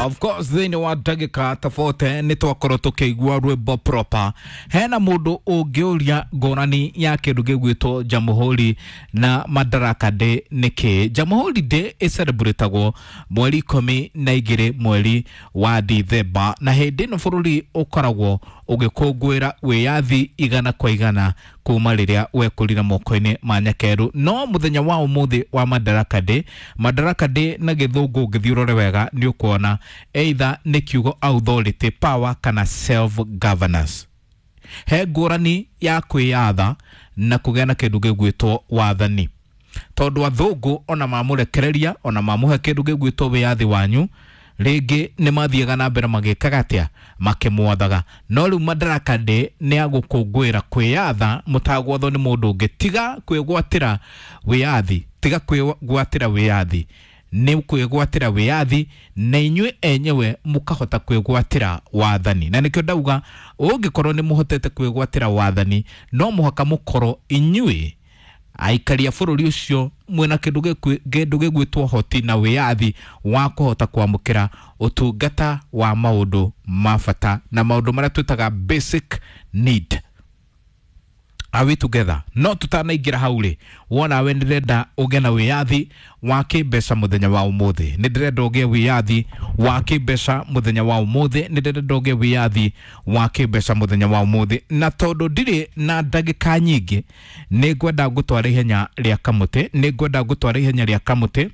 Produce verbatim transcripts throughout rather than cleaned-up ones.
Of course thĩinĩ wa ndagĩka ta forty nĩ twakorwo tũkĩigua rwĩmbo proper. Hena mũndũ ũngĩũria ngũrani ya kĩndũ gĩgwĩtwo Jamhuri na Madaraka Day nĩkĩ? Jamhuri Day ĩcerebũrĩtagwo mweri ikũmi na igĩrĩ mweri wa Dithemba, na hĩndĩ ĩno bũrũri ũkoragwo ũgĩkũngũĩra wĩyathi igana kwa igana kuma rĩrĩa wekũrire moko-inĩ ma nyakerũ. No mũthenya wa ũmũthĩ wa Madaraka Day, Madaraka Day na gĩthũngũ ũngĩthiĩ ũrore wega nĩ ũkuona either nĩ kiugo authority, power kana self governance. He ngũrani ya kwĩyatha na kũgĩa na kĩndũ gĩgwĩtwo wathani, tondũ athũngũ ona mamũrekereria ona mamũhe kĩndũ gĩgwĩtwo wĩyathi wanyu rĩngĩ nĩ mathiaga na mbere magĩkaga atĩa, makĩmwathaga. No rĩu Madaraka Day nĩ ya gũkũngũĩra kwĩyatha mũtagwathwo nĩ mũndũ ũngĩ. Tiga kwĩgwatĩra wĩyathi, tiga kwĩgwatĩra wĩyathi, nĩ kwĩgwatĩra wĩyathi na inyuĩ enyewe mũkahota kwĩgwatĩra wathani. Na nĩkĩo ndauga ũngĩkorwo nĩ mũhotete kwĩgwatĩra wathani no mũhaka mũkorwo inyuĩ aikari a bũrũri ũcio mwĩna kĩndũ kĩndũ gĩgwĩtwo hoti na wĩyathi wa kũhota kwamũkĩra ũtungata wa maũndũ ma bata na maũndũ marĩa twĩtaga basic need. Are we together? No tutanaingĩra hau rĩ, wona we ndĩrenda ũgĩe na wĩyathi wa kĩmbeca mũthenya wa ũmũthĩ, nĩ ndĩrenda ũgĩe wĩyathi wa kĩmbeca mũthenya wa ũmũthĩ, nĩ ndĩrenda ũgĩe wĩyathi wa kĩmbeca mũthenya wa ũmũthĩ. Na tondũ ndirĩ na ndagĩka nyingĩ, nĩ ngwenda ngũtwara ihenya rĩa kamũtĩ, nĩ ngwenda ngũtwara ihenya rĩa kamũtĩ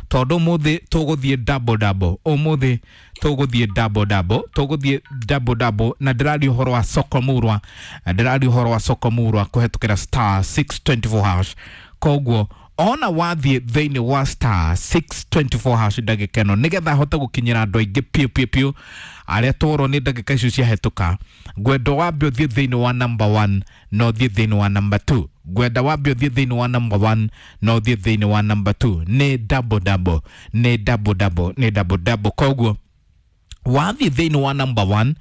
tondũ ũmũthĩ tũgũthiĩ double double, ũmũthĩ tũgũthiĩ double double, tũgũthiĩ double double. Na ndĩraria ũhoro wa soko murwa, ndĩraria ũhoro wa soko murwa kũhetũkĩra star six twenty four hash. Koguo ona wathiĩ thĩinĩ wa star six twenty four hash ndagĩka ĩno nĩgetha hote gũkinyĩra andũ aingĩ piũ piũ piũ arĩa tworwo nĩ ndagĩka icio ciahĩtũka, ngwenda wambe ũthiĩ thĩinĩ wa number one na ũthiĩ thĩinĩ wa number two. Ngwenda wambe ũthiĩ thĩinĩ wa number one na ũthiĩ thĩinĩ wa number two. Nĩ double double, nĩ double double, nĩ double double. Koguo wathiĩ thĩinĩ wa number one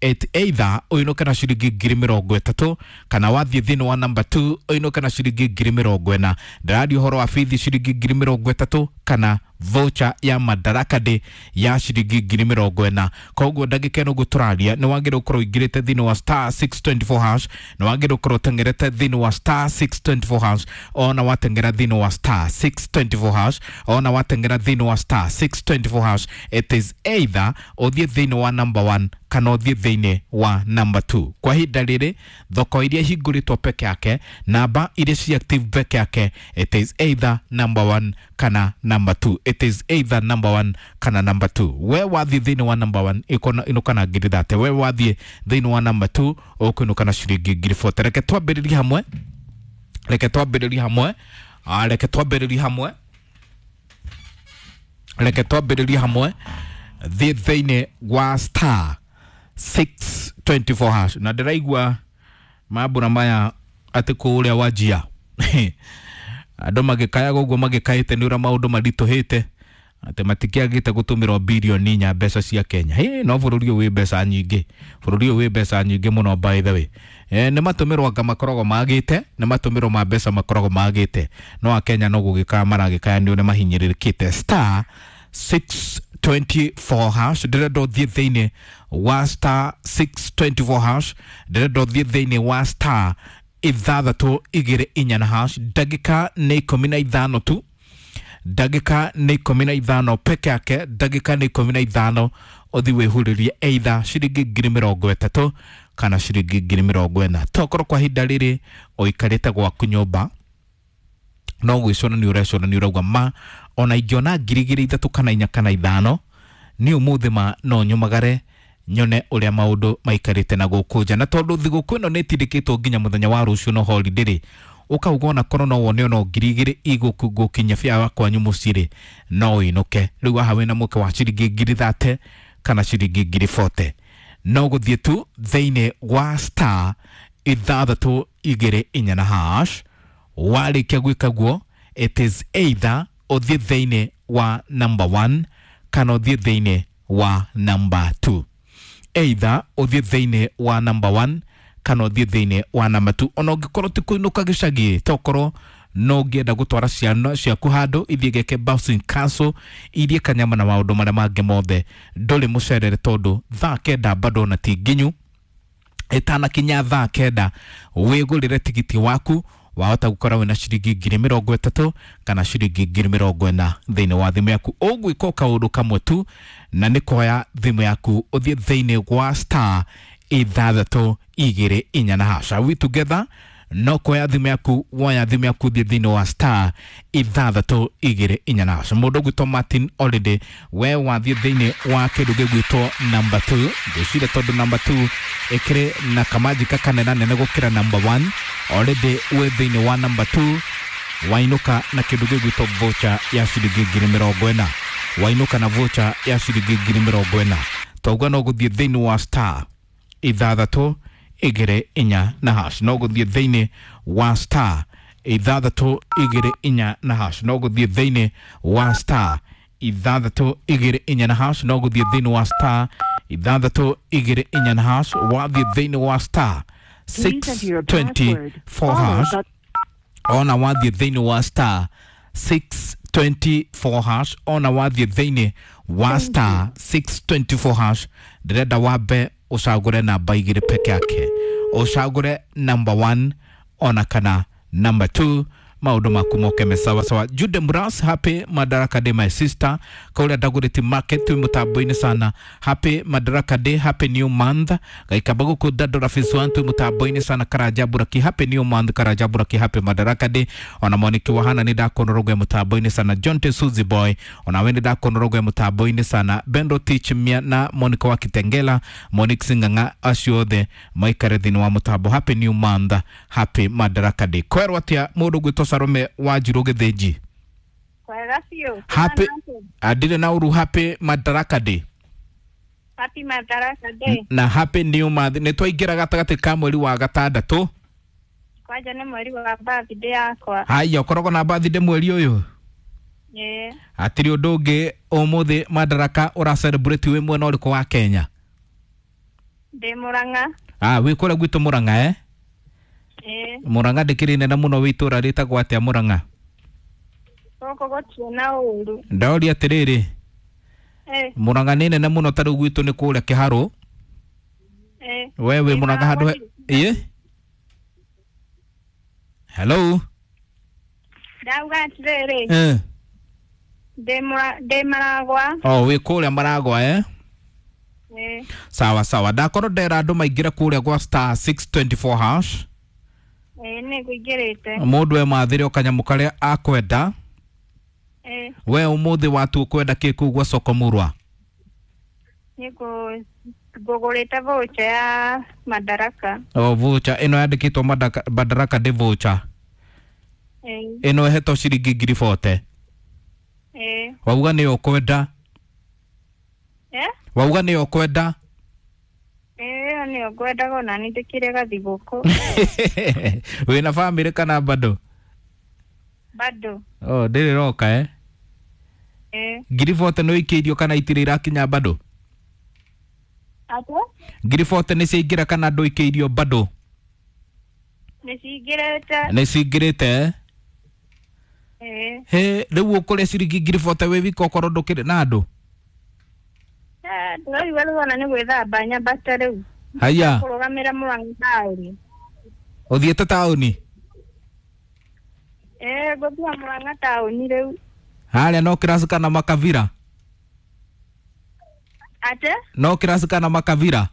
it either ũinũke na ciringi ngiri mĩrongo ĩtatũ kana wathiĩ thĩinĩ wa number two ũinũke na ciringi ngiri mĩrongo ĩna. Ndĩraria ũhoro wa bithi ciringi ngiri mĩrongo ĩtatũ kana voucher ya Madaraka Day ya ciringi ngiri mĩrongo ĩna. Koguo ndagĩka ĩno ũguo tũraria nĩ wagĩrĩirwo gũkorwo ũingĩrĩte thĩinĩ wa star six twenty four hash, nĩ wagĩrĩirwo gũkorwo ũteng'erete thĩinĩ wa star six twenty four hash, ona wateng'era thĩinĩ wa star six twenty four hash, ona wateng'era thĩinĩ wa star six twenty four hash, it is either ũthiĩ thĩinĩ wa number one kana ũthiĩ thĩinĩ wa number two. Kwa ihinda rĩrĩ thoko iria ihingũrĩtwo peke yake, namba iria ci active peke yake, it is either number one kana number two. It is either number one kana number two. We wathiĩ thĩinĩ wa number one inũka na ngiri thate, we wathiĩ thĩinĩ wa number two ũkũinũka na ciringi ngiri forty. Reke twambĩrĩrie hamwe, reke twambĩrĩrie hamwe, reke twambĩrĩrie hamwe, reke twambĩrĩrie hamwe thiĩ thĩinĩ wa star six twenty four hash. Na ndĩraigua mambura maya atĩ kũrĩa Wajir andũ magĩkayaga ũguo magĩkaĩte nĩ ũrĩa maũndũ maritũhĩte atĩ matikĩagĩte gũtũmĩrwo bilioni inya mbeca cia Kenya. Hĩ, no bũrũri ũyũ wĩ mbeca nyingĩ, bũrũri ũyũ wĩ mbeca nyingĩ mũno by the way. Eh, nĩ matũmĩrwo anga makoragwo magĩte, nĩ matũmĩrwo ma mbeca makoragwo magĩte, no akenya no gũgĩkaya maragĩkaya nĩ ũrĩa mahinyĩrĩrĩkĩte. Star six twenty four hash, ndĩrenda ũthiĩ thĩinĩ wa star six twenty four hash, ndĩrenda ũthiĩ thĩinĩ wa star ithathatũ igĩrĩ inya na hash. Ndagĩka nĩ ikũmi na ithano tu, ndagĩka nĩ ikũmi na ithano peke yake, ndagĩka nĩ ikũmi na ithano ũthiĩ wĩhurĩrie either ciringi ngiri mĩrongo ĩtatũ kana ciringi ngiri mĩrongo ĩna. Tokorwo kwa ihinda rĩrĩ ũikarĩte gwaku nyũmba no gwĩcũrania ũrecũrania ũrauga ma ona ingĩona ngiri igĩrĩ ithatũ kana inya kana ithano nĩ ũmũthĩ ma no nyumagare nyone ũrĩa maũndũ maikarĩte na gũkũ nja. Na tondũ thigũkũ ĩno nĩ ĩtindĩkĩtwo nginya mũthenya wa rũciũ no holiday rĩ, ũkauga ona korwo no wone ona ngiri igĩrĩ igũkinya bia kwanyu mũciĩ rĩ, no ũinũke. Rĩu haha wĩna mũke wa ciringi ngiri thate kana ciringi ngiri forty, no gũthiĩ tu thĩinĩ wa star ithathatũ igĩrĩ inya na hash. Warĩkia gwĩka guo it is either ũthiĩ thĩinĩ wa number one kana ũthiĩ thĩinĩ wa number two. Either ũthiĩ thĩinĩ wa number one kana ũthiĩ thĩinĩ wa number two. Ona ũngĩkorwo ti kũinũka gĩcagi, tokorwo No ũngĩenda gũtwara ciana ciaku handũ ithiĩ geke bouncing castle, irie kanyama na maũndũ marĩa mangĩ mothe, ndũrĩ mũcerere tondũ thaa kenda bado na ti nginyu. Ĩtanakinya thaa kenda wĩgũrĩre tigiti waku, wahota gũkora wĩna ciringi ngiri mĩrongo ĩtatũ kana ciringi ngiri mĩrongo ĩna thĩinĩ wa thimũ yaku. Ũgwĩka o kaũndũ kamwe tu, na nĩ kuoya thimũ yaku ũthiĩ thĩinĩ wa star ithathatũ igĩrĩ inya na hash. Are we together? No kuoya thimũ yaku, woya thimũ yaku ũthiĩ thĩinĩ wa star ithathatũ igĩrĩ inya na hash. Mũndũ ũgwĩtwo Martin Olide, we wathiĩ thĩinĩ wa kĩndũ gĩgwĩtwo number two, ngwĩciria tondũ number two ĩkĩrĩ na kamanjika kanene nene gũkĩra number one. Already wĩ thĩinĩ wa number two, wainũka na kĩndũ gĩgwĩtwo voucher ya ciringi ngiri mĩrongo ĩna, wainũka na voucher ya ciringi ngiri mĩrongo ĩna. Twauga no gũthiĩ thĩinĩ wa star ithathatũ igĩrĩ inya na hash, no gũthiĩ thĩinĩ wa star ithathatũ igĩrĩ inya na hash, no gũthiĩ thĩinĩ wa star ithathatũ igĩrĩ inya na hash, no gũthiĩ thĩinĩ wa star ithathatũ igĩrĩ inya na hash. Wathiĩ thĩinĩ wa star Please enter your six twenty password, four followed hash, by ona wathiĩ thĩinĩ wa star six twenty four hash, ona wathiĩ thĩinĩ wa Thank star six twenty four hash, ndĩrenda wambe ũcagũre namba igĩrĩ peke yake, ũcagũre number one ona kana number two, maũndũ maku moke me sawa sawa. Jude Muras, happy Madaraka Day my sister, kaũrĩa Dagoretti Market twĩ mũtambo-inĩ sana. Happy Madaraka Day, happy new month. Gaikamba gũkũ Dandora Phase one twĩ mũtambo-inĩ sana. Karanja Buraki, happy new month. Karanja Buraki, happy Madaraka Day. Ona Moniki Wahana nĩ ndakuona mũtambo-inĩ sana. John T Suzy Boy, ona we nĩ ndakuona mũtambo-inĩ sana. Bendo Teach Mia na Monica wa Kitengela, Monique Sing'ang'a, acio othe maikare thĩinĩ wa mũtambo. Happy new month, happy Madaraka Day. Kwerwo atĩa mũndũ ũgwĩtwo Salome wa Njirũ Gĩthĩnji? Kwega biũ. Happy andirĩ na ũru. Happy Madaraka Day. Happy Madaraka Day. Na happy new month. Nĩ twaingĩra gatagatĩ ka mweri wa gatandatũ. Kwanja nĩ mweri wa birthday yakwa. Haya, ũkoragwo na birthday mweri ũyũ? Ĩĩ. Hatirĩ ũndũ ũngĩ ũmũthĩ Madaraka ũra celebrate wĩ mwena ũrĩkũ wa Kenya? Ndĩ Mũrang'a. Ah, wĩ kũrĩa gwitũ Mũrang'a eh? Ĩĩ. Mũrang'a ndĩkĩrĩ nene mũno, wĩ itũũra rĩtagwo atĩa Mũrang'a? Gũkũ gũtirĩ na ũru. Ndaũria atĩrĩrĩ, Ĩĩ. Mũrang'a nĩ nene mũno, ta rĩu gwitũ nĩ kũrĩa Kĩharũ. Ĩĩ. We wĩ Mũrang'a handũ he ĩĩ? Hello? Ndauga atĩrĩrĩ, Eh. ndĩ Mũra- ndĩ Maragwa. Oh, wĩ kũrĩa Maragwa eh? Ĩĩ. Sawa sawa. Ndakorwo ndera andũ maingĩre kũrĩa gwa star six twenty four hash. Ĩĩ nĩ ngũingĩrĩte. Mũndũ e mathĩre o kanyamũ karĩa akwenda. Ĩĩ. We ũmũthĩ watua ũkwenda kĩ kũu gwa soko Mũrwa? Nĩ ngũ ngũgũrĩte voucher ya Madaraka. O voucher ĩno yandĩkĩtwo Madaraka, Madaraka Day voucher. Ĩĩ. Ĩno ĩhetwo ciringi ngiri bote. Ĩĩ. Wauga nĩyo ũkwenda? Eh? Wauga nĩyo ũkwenda? Ĩĩ ĩyo nĩyo ngwendaga ona nĩ ndĩkĩrĩ gathigũkũ. Wĩna bamĩrĩ kana bado? Bado. Oh, ndĩrĩ roka eh? Ĩĩ. Ngiri bote nĩ ũikĩirio kana itirĩ irakinya bado? Atĩa? Ngiri bote nĩ ciaingĩra kana ndũikĩirio bado? Nĩ cingĩrĩte. Nĩ cingĩrĩte eh? Ĩĩ. He, rĩu ũkũrĩa ciringi ngiri bote wĩ wika okorwo ndũkĩrĩ na andũ? Eh, ndĩraigua rĩu ona nĩ gwĩthamba nyambate rĩu. Haya, Kũrũgamĩra Mũrang'a taũni. ũthiĩte taũni? Ĩĩ ngũthiĩ Mũrang'a taũni rĩu. Harĩa no kĩraci kana makabira? Atĩa? No kĩraci kana makabira?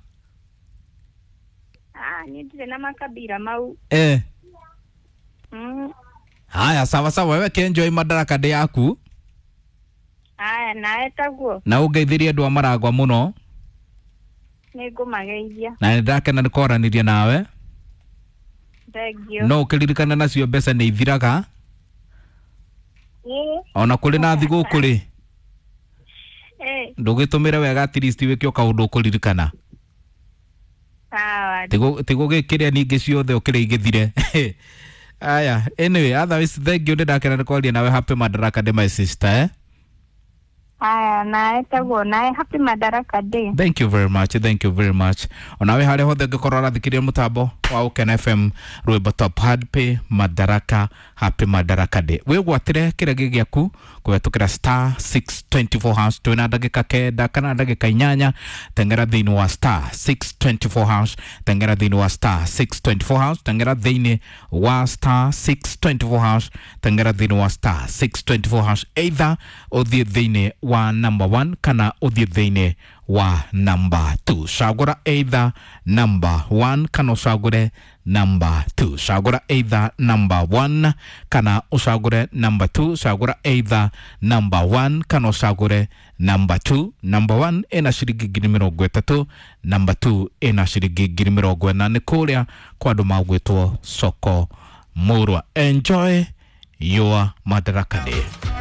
Ah, niĩ ndirĩ na makabira mau. Eh. Mm. Haya, sawa sawa, wewe kenjoy Madaraka Day yaku Haya, nawe taguo. na ũngeithĩrie andũ a Maragwa mũno. Nĩ ngũmageithia. Na nĩ ndakena nĩ kwaranĩria nawe. Thank you. No ũkĩririkane nacio mbeca nĩ ithiraga. Ĩĩ. Ona kũrĩ na thigũkũ rĩ, Ĩĩ. ndũgĩtũmĩre wega at least wĩke o kaũndũ ũkũririkana. Sawa. Tigũgĩkĩrĩa ningĩ ciothe ũkĩrĩa igĩthire. Aya, anyway, otherwise thank you, nĩ ndakena nĩ kwaria nawe. Happy Madaraka Day my sister eh? Aya, nawe taguo nawe, happy Madaraka Day. Thank you very much, thank you very much. Onawe harĩa hothe ũngĩkorwo ũrathikĩrĩria mũtambo wa Ũkena F M, rwĩmbo top, happy Madaraka, happy Madaraka Day. Wĩgwatĩre kĩrĩa gĩaku kũhetũkĩra star six two four hash. Twĩna ndagĩka kenda kana ndagĩka inyanya. Tengera thĩinĩ wa star six two four hash, tengera thĩinĩ wa star six two four hash, tengera thĩinĩ wa star six two four hash, tengera thĩinĩ wa star six two four hash. Either ũthiĩ thĩinĩ wa number one kana ũthiĩ thĩinĩ wa number two. Cagũra either number one kana ũcagũre number two. Cagũra either number one kana ũcagũre number two. Cagũra either number one kana ũcagũre number two. Number one ĩna ciringi ngiri mĩrongo ĩtatũ, number two ĩna ciringi ngiri mĩrongo ĩna. Nĩ kũrĩa kwa andũ magwĩtwo soko mũrwa. Enjoy your Madaraka Day.